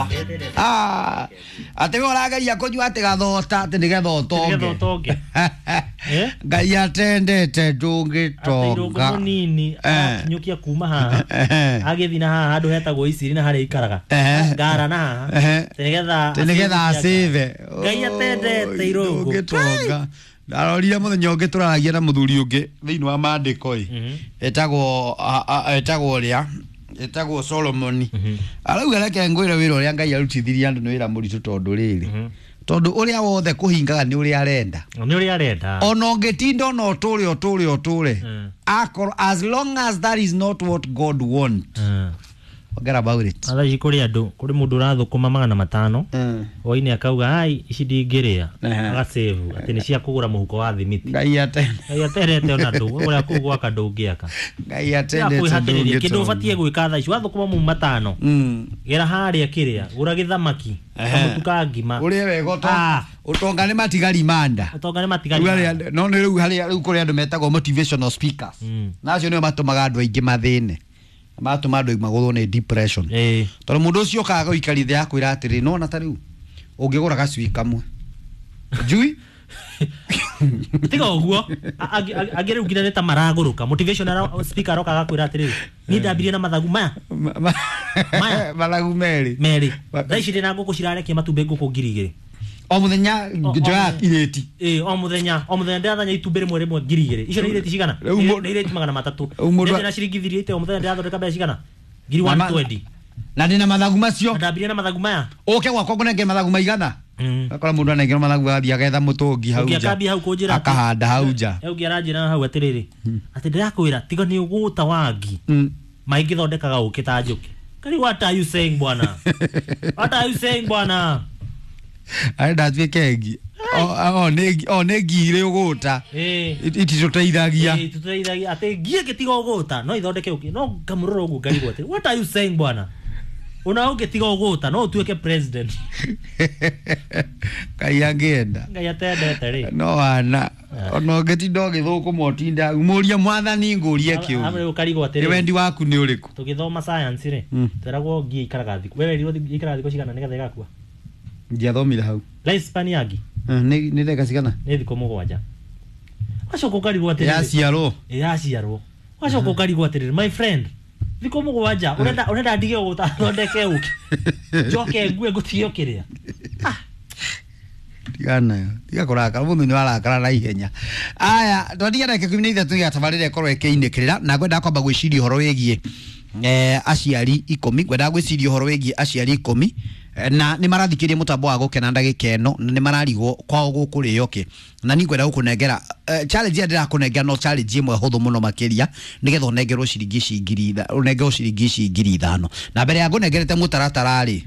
ndũngĩtonga. Ah, atĩ we ũrageria kũnyua atĩ gathota atĩ nĩgetha ũtonge. Nĩgetha ũtonge. Eh? Ngai atendete Atĩ irũngũ ndũngĩtonga. Mũnini akinyũkia kuma haha agĩthiĩ na haha handũ hetagwo Isiri na harĩa ikaraga ngara na haha atĩ nĩgetha Atĩ nĩgetha acĩve. Ngai atendete irũngũ. Ndũngĩtonga. Ndarorire mũthenya ũngĩ tũraragia na mũthuri ũngĩ thĩinĩ wa maandĩko ĩ, etagwo etagwo ũrĩa etagwo Solomoni. Arauga reke ngwĩre wĩra ũrĩa Ngai arutithirie andũ nĩ wĩra mũritũ tondũ rĩrĩ, tondũ ũrĩa wothe kũhingaga nĩ ũrĩa arenda. Nĩ ũrĩa arenda. Ona ũngĩtinda ona ũtũre ũtũre ũtũre, akorwo as long as that is not what God want, forget about it. Thaa ici kũrĩ andũ, kũrĩ mũndũ ũrathũkũma 500 hwainĩ akauga ai ici ndingĩrĩa, agacevu atĩ nĩ cia kũgũra mũhuko wa thimiti. Ngai atende. Ngai atendete ona ndũ ũrĩa kũu gwaka ndũngĩaka. Ngai atendete kwĩhatĩrĩria kĩndũ ndũngĩtonga. ũbatiĩ gwĩka thaa ici wathũkũma mu 500, gera harĩa kĩrĩa gũra gĩthamaki, kamũtu ka ngima. Ũrĩe wega ũtonga nĩ matigari manda. Ũtonga nĩ matigari. Rĩu no nĩ rĩu harĩa rĩu kũrĩ andũ metagwo motivational speakers, na acio nĩo matũmaga andũ aingĩ mathĩne, matũma andũ magũthwo nĩ depression, tondũ mũndũ ũcio okaga gũikaria thĩ akwĩra atĩrĩ, nona ta rĩu ũngĩgũra gacui kamwe njui. Tiga ũguo, angĩ rĩu nginya nĩ ta maragũrũka. Motivational speaker aroka agakwĩra atĩrĩrĩ, niĩ ndambirie na mathagu maya. Maya. Mathagu merĩ. Merĩ, thaa ici ndĩ na ngũkũ cirarekia matumbĩ, ngũkũ 2000. O mũthenya njoya irĩti. Ĩĩ, o mũthenya, o mũthenya ndĩrathanya itumbĩ rĩmwe rĩmwe 2000. Icio nĩ irĩti cigana? Rĩu Nĩ irĩti 300. Rĩu Ndĩ na ciringi 80 o mũthenya ndĩrathondeka mbeca cigana? Ngiri 120. Na ndĩna mathagu macio. Na ndambirie na mathagu maya. Ũke gwakwa ngũnengere mathagu maigana. Akora mũndũ anengerwo mathagu agathiĩ agetha mũtũngi hau Ũngĩ nja, akambia hau kũnjĩra akahanda hau nja. Ũngĩ aranjĩra hau atĩrĩrĩ, atĩ ndĩrakwĩra tiga nĩ ũgũta wangi maingĩthondekaga ũkĩ ta njũkĩ. Kari, what are you saying, bwana? What are you saying, bwana? Arenda atuĩke ngi o nĩ ngi irĩ ũgũta ititũteithagia. Ĩĩ, tũteithagia atĩ ngi ĩngĩtiga ũgũta no ithondeke ũkĩ. No ngamũrora ũguo ngarigwo atĩ what are you saying, bwana? Ona ũngĩtiga ũgũta no ũtuĩke president. Ngai angĩenda. Ngai atendete rĩ. No ana ona ũngĩtinda ũgĩthũkũma ũtinda mũrie mwathani ngũrie kĩũria, Hamwe ũkarigwo nĩ atĩrĩrĩ, wendi waku nĩ ũrĩkũ? Tũgĩthoma science rĩ, tweragwo ngi ikaraga thikũ, we werirwo ikaraga thikũ cigana nĩgetha ĩgakua? Ndiathomire hau. Life span ya ngi Nĩ ndagĩka cigana? Nĩ thikũ 7. Wacoka ũkarigwo atĩrĩrĩ, Yaciarwo. Yaciarwo. Wacoka ũkarigwo atĩrĩrĩ, my friend, thikũ 7 ũrenda ndige ũgũta thondeke ũkĩ njoke ngue ngũtige ũkĩrĩa? Tigana tiga kũrakara, mũndũ nĩ warakara na ihenya. Aya, twatiga ndagĩka 13 nĩgetha tabarĩra ĩkorwo ĩkĩinĩkĩrĩra, na ngwendaga kwamba gwĩciria ũhoro wĩgiĩ aciari 10. Ngwendaga gwĩciria ũhoro wĩgiĩ aciari 10, na nĩ marathikĩria mũtambo wa gũkena ndagĩka ĩno, na nĩ mararigwo kwao gũkũrĩo kĩ. Na niĩ ngwenda gũkũnengera challenge ĩrĩa ndĩrakũnengera, no challenge ĩmwe hũthũ mũno makĩria nĩgetha ũnengerwo ciringi ici ũnengerwo ciringi ici 5000. Na mbere ya ngũnengerete mũtaratara rĩ,